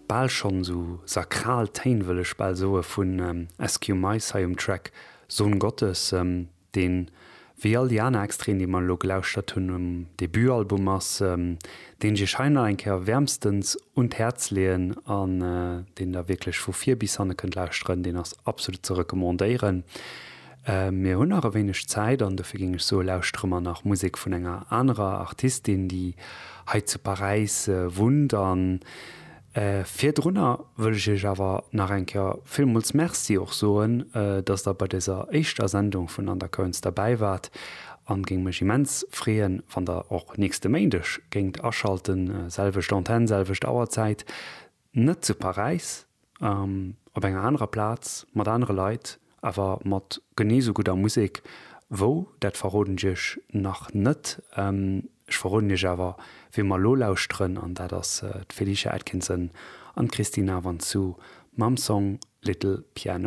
Bal schonn esou sakral Téin, wëll ech bal soe, vun SQ Mice hei um Track Sohn Gottes, deen, wéi all déi aner Extraiten, déi mer elo gelauschtert hunn, um Debutalbum ass, deen ech iech hei nach eng Kéier wäermstens un d'Häerz leeën an deen der wierklech vu vir bis hanne kënnt lauschteren. Deen ass absolut ze recommandéieren. Mir hunn nach e wéineg Zäit an dofir géing ech soe lauschtere mer nach Musek vun enger anerer Artistin, déi hei zu Paräis wunnt. A virdrunner wëll ech iech awer nach eng Kéier villmools Merci och soen, dass der bei dëser éischter Sendung vun Undercurrents derbäi waart an géing mech immens freeën, wann der och nächste Méindeg géingt aschalten, selwecht Antenn, selwecht Auerzäit. Net zu Paräis, op enger anerer Plaz, mat anere Leit, awer mat genee sou gudder Musek. Wou, dat verroden ech iech nach net. Ech verroden iech awer, wee mer elo lauschteren, an dat ass d'Felicia Atkinson an d'Christina Vantzou mam Song Little Piano.